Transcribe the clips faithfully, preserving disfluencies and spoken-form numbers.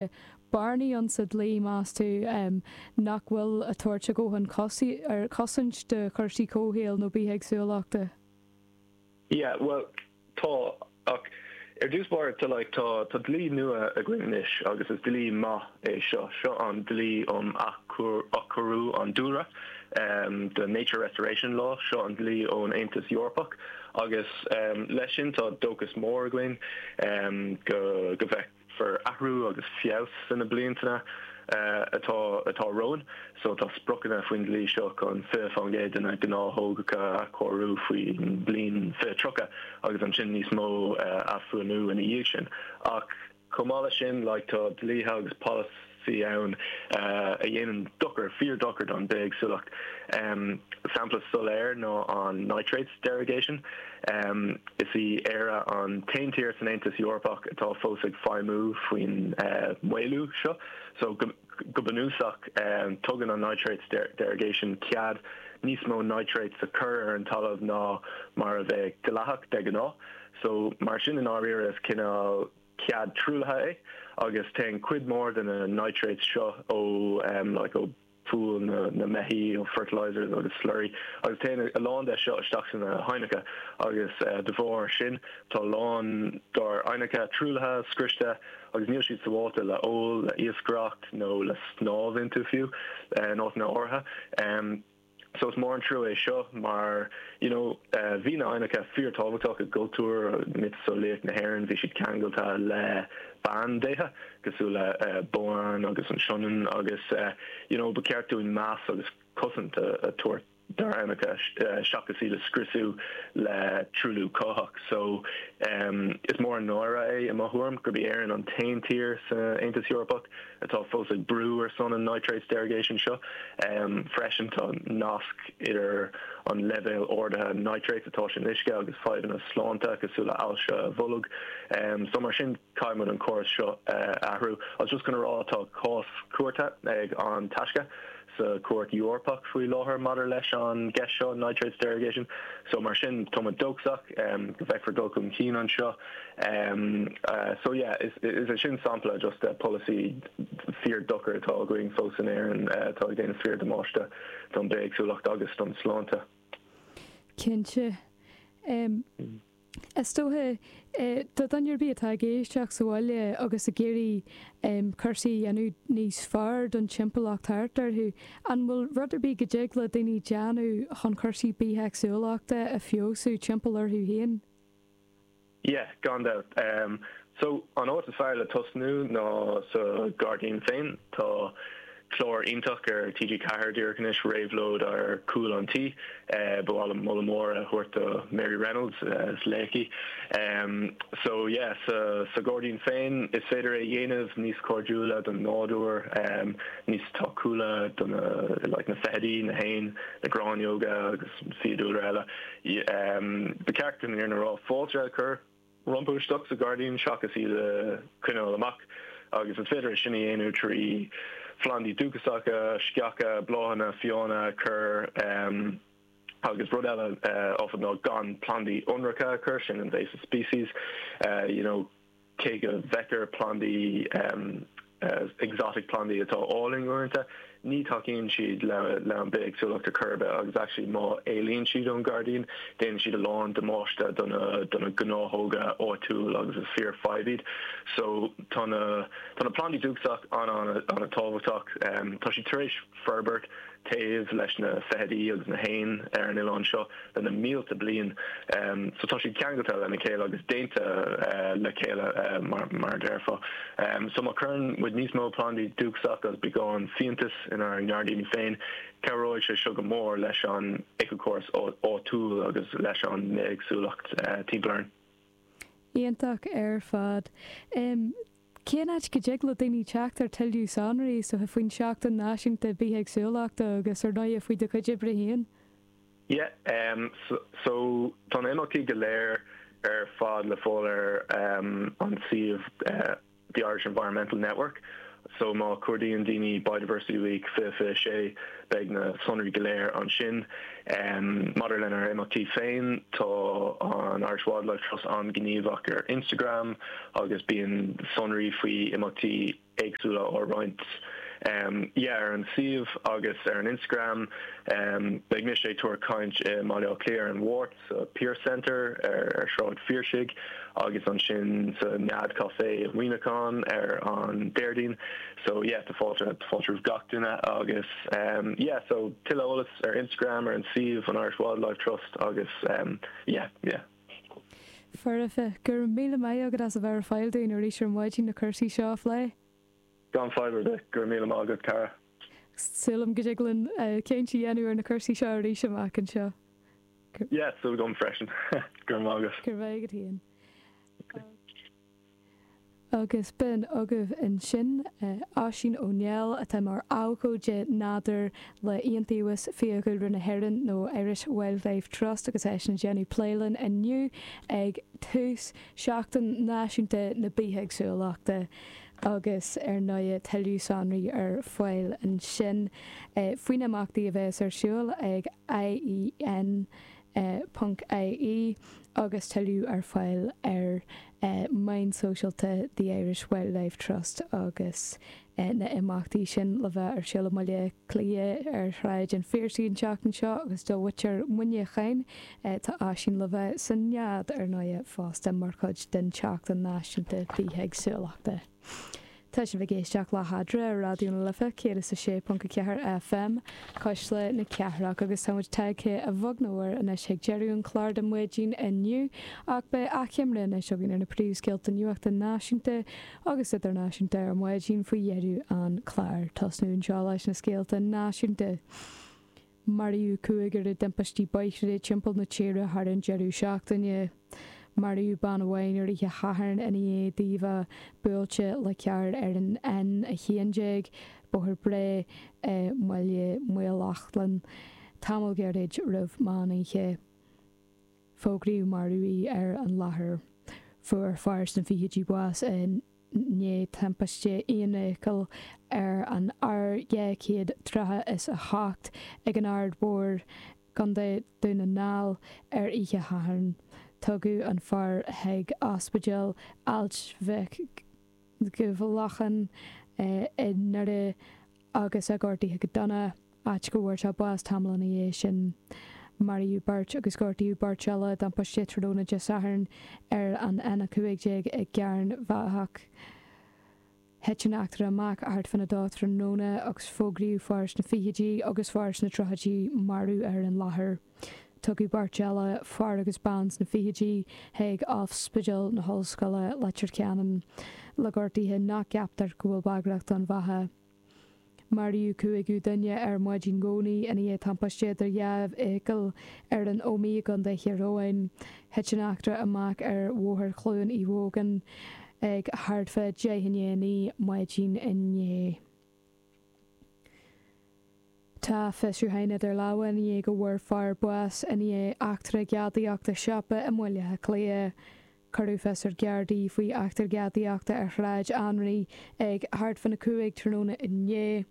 Bearnaí ann sa dlí meas tú nach bhfuil ag tabhairt a dhóthain ar cosaint do chúrsaí comhshaoil nó bithéagsúlachta? Yeah, well tá ach ar dtús báire tá like tá tá dlí nua againn anois agus is dlí maith é seo seo an dlí um athchóiriú an dúlra um, the Nature Restoration Law seo an dlí ón Aontas Eorpach agus um, leis sin tá dóchas mór againn um, go go bhfeicfear athrú agus feabhas sna blianta uh, atá atá romhainn so tá spriocanna faoin dlí seo chun fiche faoin gcéad de na gnáthóga athchóiriú faoin bliain fiche tríocha agus ansin níos mó uh, athbhunú ina dhiaidh sin ach chomh maith leis sin like tá dlíthe agus polasaí ann uh, a dhéanann dochar fíor-dochar don bithéagsúlacht. Um, sampla soiléir ná an nitrates derogation. Um, is í Éire an t-aon tír san Aontas Eorpach atá fós ag feidhmiú faoin uh, maolú seo. So go, go bunúsach um, tugann an nitrates der derogation cead níos mó nitrates a chur ar an talamh ná mar a bheadh dleathach de ghnáth. So mar sin in áiríre is cineál cead truaillithe é agus téann cuid mór de na nitrates seo ó um, like, ó fuail na, na mbeithíoch ó fertilizers agus slurry agus téann a lán de seo isteach sna haibhneacha agus uh, de bharr sin tá lán dár aibhneacha truaillithe scriosta agus níl siad sábháilte le ól le iascaireacht nó le snámh iontu fiú uh, in áiteanna áirithe. Um, So is mór an trua é seo mar you know, uh, bhí na haibhneacha fíorthábhachtach i gcultúr miotaseolaíocht na hÉireann bhí siad ceangailte le bandéithe cosúil le uh, Boann agus an Sionainn agus uh, you know, ba cheart dúinn meas agus cosaint a, a tabhairt dár n-aibhneacha uh, seachas iad a scriosadh le truailliú cuthach. So um, is mór an náire é i mo thuairim gurb í Éirinn an t-aon tír san Aontas Eorpach atá fós ag brú ar son an nitrates derogation seo. Um, freisin tá nasc idir an leibhéal ardaithe nitrates atá san uisce agus fadhbanna sláinte cosúil le ailse bholg. Um, so mar sin caithfidh muid an córas seo uh, athrú. Agus just chun rá tá cás cúirte ag an Taisce sa Chúirt Eorpach faoi láthair maidir leis an gceist seo nitrates derogation. So mar sin tá dóchasach um, go bhfeicfear dul chun cinn anseo. Um, uh, so yeah, is, is é sin sampla just uh, policy fíor-dochar atá againn fós in Éirinn uh, atá ag déanamh fíor-damáiste don bithéagsúlacht agus don sláinte. Cinnte. Um, mm. Is dócha do dhuine ar bith atá ag éisteacht sa bhaile agus ag iarraidh cúrsaí a dhéanamh níos fearr don timpeallacht thart orthu. An bhfuil rud ar bith go dtig le daoine déanamh chun cúrsaí bithéagsúlachta a fheabhsú timpeall orthu féin? Yeah, gan dabht. Um, so an áit is fearr le tosnú ná sa gairdín féin tá clár iontach ar TG Ceathair díreach anois réabhlóid ar chúl an tí uh, ba mhaith liom moladh mór a thabhairt do Mary Reynolds uh, is laoch í. Um, so yeah, sa, sa gairdín féin is féidir é dhéanamh níos cairdiúla don nádúr um, níos tacúla don like, na feithidí na héin na gráinneoga agus fiadhúlra eile. Um, Ba cheart an ar na rá fáilte a chur rompu isteach sa gairdín seachas iad a choinneáil amach agus is féidir sin a dhéanamh trí phlandaí dúchasacha, sceacha, bláthanna, fiáine chur um, agus rud eile uh, ná gan plandaí ionracha a chur sin invasive species uh, you know, cé go bhfeictear plandaí um, uh, exotic plandaí atá álainn uaireanta, ní tacaíonn siad le le an bithéagsúlacht ar chor ar bith agus actually má éalaíonn siad ón gairdín, déanann siad a lán damáiste do na do na gnáthóga áitiúil agus is fíorfhadhb iad. So tá na tá na plandaí dúchasach an an an-tábhachtach um, tá siad tar éis forbairt taobh leis na feithidí agus na héin ar an oileán seo le na mílte bliain. Um, so tá siad ceangailte lena chéile agus déanta uh, le chéile uh, mar, mar déarfá. Um, so má chuireann muid níos mó plandaí dúchasach agus beagán fiántas inár ngairdíní féin, cabhróidh sé seo go mór leis an éiceachóras áitiúil agus leis an mbithéagsúlacht uh, timpeall orainn. Iontach ar fad. Um, Cén áit go dtig le daoine teacht ar tuilleadh sonraí so faoin Seachtain Náisiúnta Bithéagsúlachta agus ar ndóigh faoi do chuid oibre féin? Yeah, um, so, so tá na imeachtaí go léir ar fad le fáil ar um, an suíomh uh, the Irish Environmental Network. So má chuardaíonn daoine Biodiversity Week fiche fiche sé beidh na sonraí go léir ansin. Um, Maidir lenár imeachtaí féin tá an Irish Wildlife Trust an-ghníomhach ar Instagram agus bíonn sonraí faoi imeachtaí éagsúla á roinnt um, yeah, ar an suíomh agus ar an Instagram. Um, beidh mise ag tabhairt caint i mBaile Átha Cliath ar an Mháirt sa Pearse Centre ar, ar Sráid Phiarsaigh agus ansin sa Nead Café i Muineachán ar an Déardaoin. So yeah, tá fáilte fáilte roimh gach duine agus um, yeah, so tuilleadh eolas ar Instagram ar an suíomh an Irish Wildlife Trust agus um, yeah, yeah. Foirfe go raibh míle maith agat as a bheith ar fáil dúinn arís ar maidin na cúrsaí seo a phlé. Gan fadhb ar bith go raibh míle maith agat cara. Sílim go dtig linn caint a dhéanamh ar na cúrsaí seo arís amach anseo. Yeah, súil agam freisin go raibh maith agat. Gur bheith go haon. Agus b'in agaibh ansin Oisín Ó Néill atá mar abhcóide nádúir le Iontaobhas Fiadhúlra na hÉireann nó Irish Wildlife Trust agus eisean ag déanamh plé linn inniu ag tús Seachtain Náisiúnta na Bithéagsúlachta. agus ar ndóigh tuilleadh sonraí ar fáil ansin faoi na himeachtaí a bheas ar siúl ag IEN ponc IE agus tuilleadh ar fáil ar meáin sóisialta The Irish Wildlife Trust agus na imeachtaí sin le bheith ar siúl i mBaile Átha Cliath ar Shráid an Phiarsaigh an tseachtain seo agus do mhuintir Mhuineacháin tá Oisín le bheith sa Nead ar ndóigh fosta mar chuid den tSeachtain Náisiúnta Bithéagsúlachta. Tá sibh ag éisteacht le hEadra ar Raidió na Life céad is a sé ponc a ceathair FM Cuisle na Cathrach agus táimid tagtha a bheag nó a mhór anois ag deireadh an chláir don mhaidin inniu ach beidh achoimre anois againn ar na príomhscéalta nuachta náisiúnta agus idirnáisiúnta ar maidin faoi dheireadh an chláir. Tosnú anseo leis na scéalta náisiúnta. Maraíodh cúigear i dtimpistí bóithre timpeall na tíre thar an deireadh seachtaine. Maraíodh bean amháin ar oíche Shathairn ina dhiaidh di a bheith buailte le carr ar an N a haon déag, Bóthar Bray i mBaile Maoileachlainn, tamall gairid roimh meán oíche. Fógraíodh marbh í ar an láthair. Fuair fear sna fichidí bás i ndiaidh timpiste aonfheithicle ar an R dhá chéad tríocha is a hocht ag an Aird Mhór, Contae Dhún na nGall, ar oíche Shathairn. Tugadh an fear chuig Ospidéal Ailt Mhic Giobhlacháin i nDoire agus é gortaithe go dona, áit go bhfuair sé bás tamall ina dhiaidh sin. Maraíodh beirt agus gortaíodh beirt eile i dtimpiste tráthnóna Dé Sathairn ar an N a cúig déag i gCearn Bheathach. Thit an eachtra amach thart fána dó tráthnóna agus fógraíodh fear sna fichidí agus fear sna tríochaidí marbh ar an láthair. Tugadh beirt eile, fear agus bean sna fichidí, chuig Ospidéal na hOllscoile, Leitir Ceanainn, le gortuithe nach gceaptar go bhfuil bagrach don bheatha. Maraíodh cúigiú duine ar maidin Dhomhnaigh i ndiaidh timpiste idir dhá fheithicil ar an Ómaigh i gContae Thír Eoghain. Thit an eachtra amach ar Bhóthar Chluain Uí Mhógáin ag thart fá deich i ndiaidh a naoi maidin inné. Tá fiosrúchán idir lámha i ndiaidh go bhfuair fear bás i ndiaidh eachtra gadaíochta siopa i mBaile Átha Cliath. Cuireadh fios ar Ghardaí faoi eachtra gadaíochta ar Shráid Anraí ag thart fána cúig tráthnóna inné.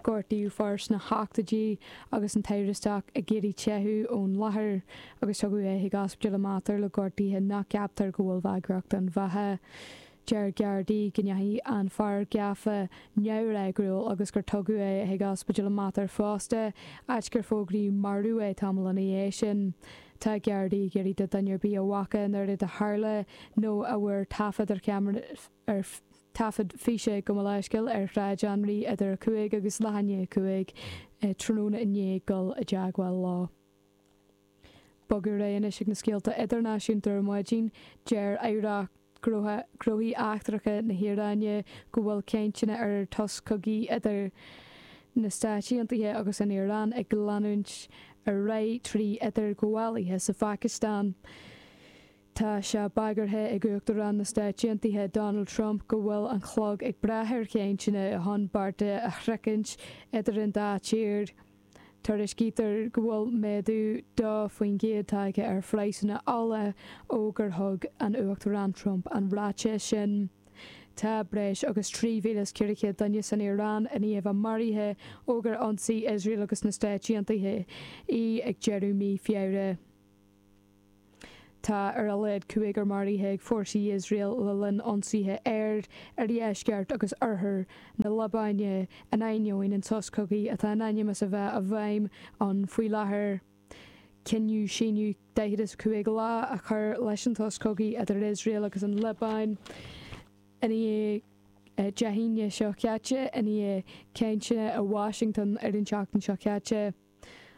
Gortaíodh fear sna hochtóidí agus an t-amhrastach ag iarraidh teitheadh ón láthair agus tugadh é chuig Ospidéal an Mater le gortuithe nach gceaptar go bhfuil bagrach don bheatha. Deir Gardaí go ndeachaigh an fear gafa neamhfhreagrúil agus gur tugadh é chuig Ospidéal an Mater fosta, áit gur fógraíodh marbh é tamall ina dhiaidh sin. Tá Gardaí ag iarraidh do dhuine ar bith a bhfaca an rud a tharla nó a bhfuair taifead ar cheamara ar taifead físe gabh mo leithscéal ar Shráid Anraí idir a cúig agus leath i ndiaidh a cúig tráthnóna inné dul i dteagmháil leo. Bogadh ar aghaidh anois ag na scéalta idirnáisiúnta ar maidin. Deir Aireacht Gnóthaí Eachtracha na hIaráine go bhfuil cainteanna ar shos cogaidh idir na Stáit Aontaithe agus an Iaráin ag leanúint ar aghaidh trí idirghabhálaithe sa Phacastáin. Tá sé bagartha ag Uachtarán na Stáit Aontaithe Donald Trump go bhfuil an clog ag breith ar chainteanna chun bearta a shroichint idir an dá tír. Tuairiscítear go bhfuil méadú dó faoin gcéad tagtha ar phraghsanna ola ó gur thug an Uachtarán Trump an ráiteas sin. Tá breis agus trí mhíle is ceithre chéad duine san Iaráin i ndiaidh a bheith maraithe ó gur ionsaigh Iosrael agus na Stáit Aontaithe í ag deireadh mí Feabhra. Tá ar a laghad cúigear maraithe ag fórsaí Iosrael le linn ionsaithe aeir ar dheisceart agus oirthear na Liobáine in ainneoin an sos cogaidh atá in ainm is a bheith i bhfeidhm ann faoi láthair. Cinneadh síneadh daichead is cúig lá a chur leis an sos cogaidh idir Iosrael agus an Liobáin i ndiaidh Dé hAoine seo caite i ndiaidh cainteanna i Washington ar an tseachtain seo caite.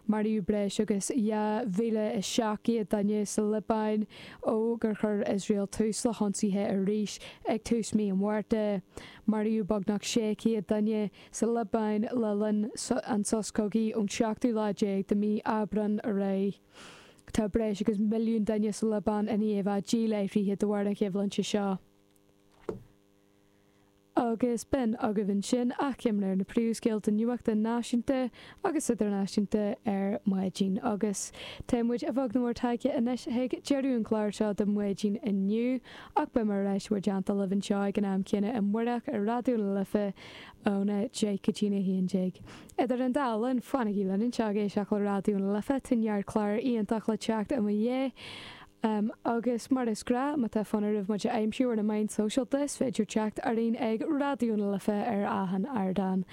Maraíodh breis agus dhá mhíle is seacht gcéad duine sa Liobáin ó gur chuir Iosrael tús le hionsaithe arís ag tús mí an Mhárta. Maraíodh beagnach sé chéad duine sa Liobáin le linn an sos cogaidh ón seachtú lá déag de mhí Aibreáin ar aghaidh. Tá breis agus milliún duine sa Liobáin i ndiaidh a bheith díláithrithe de bharr na coimhlinte seo. Agus b'in agaibh ansin achoimre ar na príomhscéalta nuachta náisiúnta agus idirnáisiúnta ar maidin. Agus tá muid a bheag nó a mhór tagtha anois chuig deireadh an chláir seo do maidin inniu, ach beidh mé ar ais bhur dteannta libh anseo ag an am céanna amárach ar Raidió na Life óna deich go dtína haon déag. Idir an dá linn, fanaigí linn anseo ag éisteacht le Raidió na Life, tá neart clár iontach le teacht i mo dhiaidh. Agus mar is gnáth, má tá fonn oraibh muid a aimsiú ar na meáin sóisialta, is féidir teacht orainn ag Raidió na Life ar achan ardán.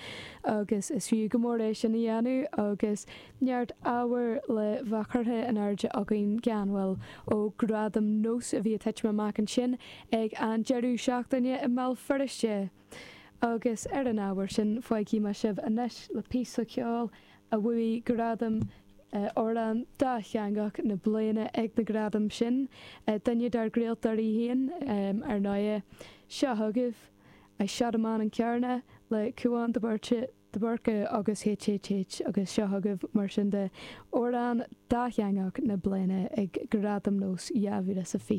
Agus is fiú go mór é sin a dhéanamh agus neart ábhair le bheith curtha in airde againn gan mhoill ó Ghradaim Nós a bhí ag titim amach ansin ag an deireadh seachtaine i mBéal Feirste. Agus ar an ábhar sin, fágfaidh mé sibh anois le píosa ceoil a bhuaigh gradam Amhrán Dátheangach na Bliana ag na gradaim sin, duine dár gcraoltóirí féin, ar ndóigh. Seo chugaibh I Shot a Man in Carna le Cúán de Búrca de Búrca agus HHH agus seo chugaibh mar sin de Amhrán Dátheangach na Bliana ag Gradaim Nós dhá mhíle is a fiche.